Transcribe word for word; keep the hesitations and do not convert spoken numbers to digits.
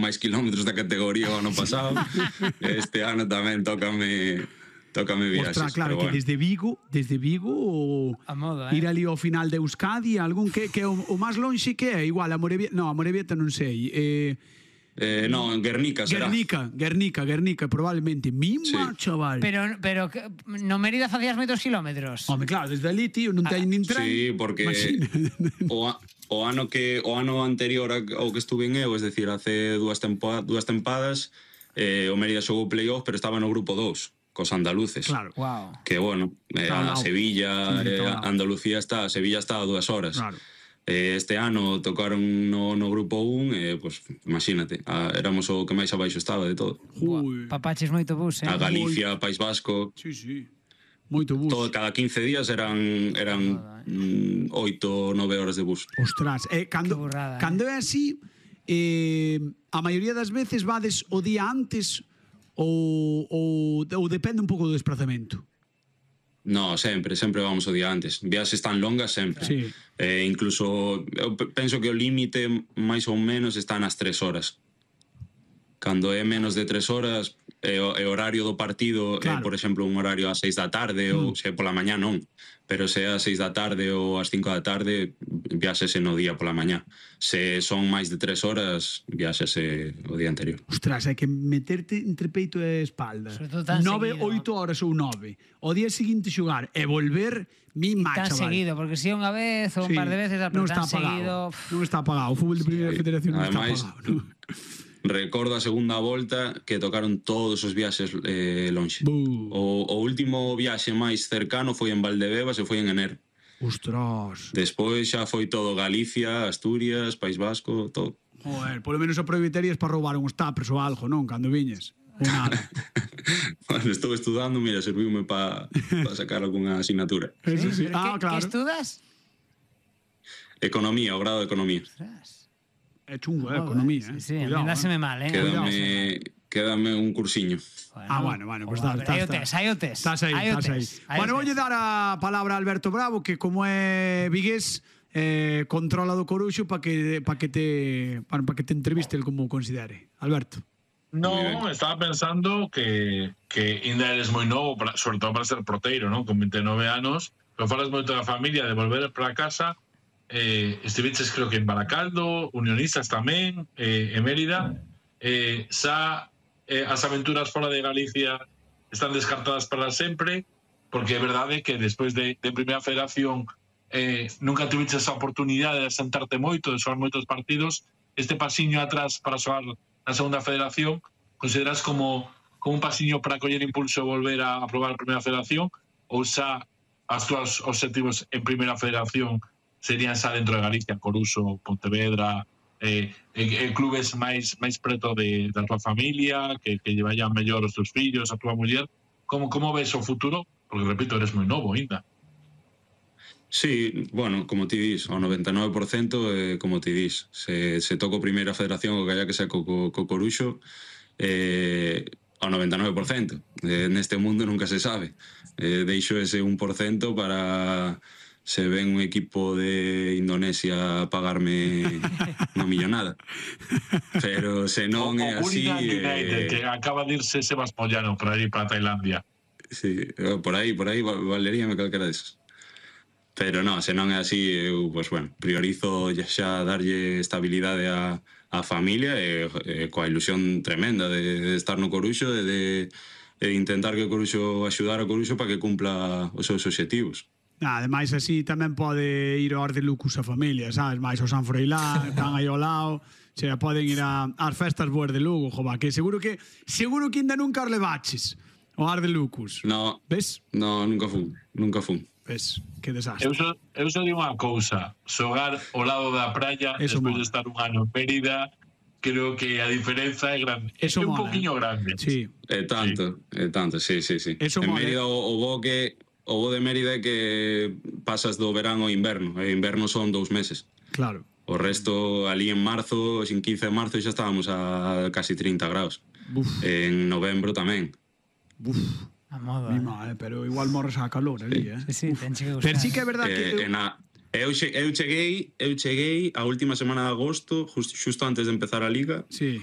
máis kilómetros da categoría o ano pasado. Este ano tamén tócame tócame viaxes. Ostras, claro, que bueno. desde Vigo, desde Vigo o a moda, eh? Ir ali ao final de Euskadi, algún que que o, o máis lonxe que é, igual a Morevieta, no, a Morevieta non sei. Eh Eh, no, en Guernica será. Guernica, Guernica, Guernica, probablemente. Mima, sí. Chaval. Pero, pero no Mérida facías moitos kilómetros. Home, claro, desde ali, tío, non teño nin tren. Sí, porque o, a, o ano que o ano anterior ao que estuve en eu, es decir, hace dúas, tempo, dúas tempadas, eh, o Mérida xogou playoff, pero estaba no grupo dous, cos andaluces. Claro. Wow. Que, bueno, eh, a Sevilla, sí, eh, Andalucía está, Sevilla está a dúas horas. Claro. Este ano tocaron no, no grupo un, eh, pues, imagínate, a, éramos o que máis abaixo estaba de todo. Ui. Papaches moito bus, eh? A Galicia, País Vasco. Sí, sí. Moito bus. Todo, cada quince días eran eran mm, oito, nove horas de bus. Ostras, eh, cando, burrada, cando eh? é así, eh, a maioría das veces vades o día antes ou, ou, ou depende un pouco do desplazamento? No, sempre, sempre vamos o día antes. Viaxes tan longas sempre. Sí. Eh, incluso, eu penso que o límite máis ou menos está nas tres horas. Cando é menos de tres horas, é o é horario do partido, claro. eh, por exemplo, un horario ás seis da tarde, mm. ou se pola mañá non. Pero se é ás seis da tarde ou ás cinco da tarde, viaxese no día pola mañá. Se son máis de tres horas, viaxese o día anterior. Ostras, hai que meterte entre peito e espalda. Nove, oito horas ou nove. O día seguinte xogar e volver, mi macha, tan seguido, porque si unha vez ou un sí. par de veces, pero non tan está seguido... Non está apagado. O fútbol de primeira sí. federación non Ademais, está apagado. ¿No? Recordo a segunda volta que tocaron todos os viaxes eh, lonxe. O, o último viaxe máis cercano foi en Valdebebas e foi en enero. Ostras. Despois xa foi todo Galicia, Asturias, País Vasco, todo. Joder, polo menos aproveitarías para roubar uns tapers ou algo, non? Cando viñes. Ou nada. Bueno, estou estudando, mira, serviume para pa sacar algunha asignatura. Eso sí. Ah, que, claro. Que estudas? Economía, o grado de Economía. Ostras. É chungo, eh, economía, eh. Sí, sí, a mí dáseme mal, eh. Quédame, quédame un cursiño. Bueno, ah, bueno, bueno, pues está, está, hai o test, hai o test. Estás aí, estás aí. Bueno, voulle dar a palabra a Alberto Bravo, que como é vigués, eh, controla do Coruxo para que para que te para, para que te entreviste el como considere. Alberto. No, estaba pensando que que ainda eres moi novo, para, sobre todo para ser proteiro, ¿no? Con vinte e nove anos, pero falas moito da familia, de volver para casa. Eh, estiveches creo que en Baracaldo, Unionistas tamén, eh, en Mérida. Eh, xa eh, as aventuras fora de Galicia están descartadas para sempre, porque é verdade que despois de, de Primeira Federación eh, nunca tuviches esa oportunidade de sentarte moito, de xogar moitos partidos. Este pasiño atrás para xogar na Segunda Federación, consideras como, como un pasiño para coller impulso e volver a, a probar a Primeira Federación, ou xa as túas objetivos en Primeira Federación serían xa dentro de Galicia, Coruxo, Pontevedra, eh, eh, clubes máis máis preto de, da tua familia, que, que lle vayan mellor os teus fillos, a tua muller? Como, como ves o futuro? Porque, repito, eres moi novo ainda. Sí, bueno, como ti dis, ao noventa e nove por cento, eh, como ti dis, se, se toco Primeira Federación o que haya que ser co, co, co Coruxo, eh, ao noventa e nove por cento. Eh, neste mundo nunca se sabe. Eh, deixo ese un por cento para... se ven un equipo de Indonesia a pagarme unha millonada. Pero se non é así... Eh... que acaba de irse Sebas Moyano para ir para Tailandia. Sí, por aí, por aí valeríame calquera deses. Pero non, se non é así, eu, pues, bueno, priorizo xa darlle estabilidade a, a familia e, e coa ilusión tremenda de, de estar no Coruxo e de, de intentar que o Coruxo axudar ao Coruxo para que cumpla os seus obxectivos. Ademais, así tamén pode ir ao Arde Lucus a familia, sabes? Mais ao San Froilán, están aí ao lado, se poden ir a, ás festas boas de Lugo, jova, que seguro que seguro que ainda nunca os levaches ao Arde Lucus. No, ves? No, nunca fun, nunca fun. Ves, que desastre. Eu só, eu só digo unha cousa, xogar ao lado da praia, despois de estar un ano en Mérida, creo que a diferenza é grande. Eso é un mola, poquinho eh? grande. Sí. É tanto, é sí. tanto, sí, sí, sí. Eso en mola, Mérida o, o bo que o bo de Mérida é que pasas do verán ao inverno, e inverno son dous meses. Claro. O resto, ali en marzo, sin quince de marzo, xa estábamos a casi trinta graus. Buf. En novembro tamén. Buf. A moda, Mima, eh? Pero igual morres a calor ali, eh? Sí, sí, ten que gustar. Pero sí que é verdad eh, que... Eu... Na... Eu, che, eu cheguei eu cheguei a última semana de agosto, just, xusto antes de empezar a Liga. Sí.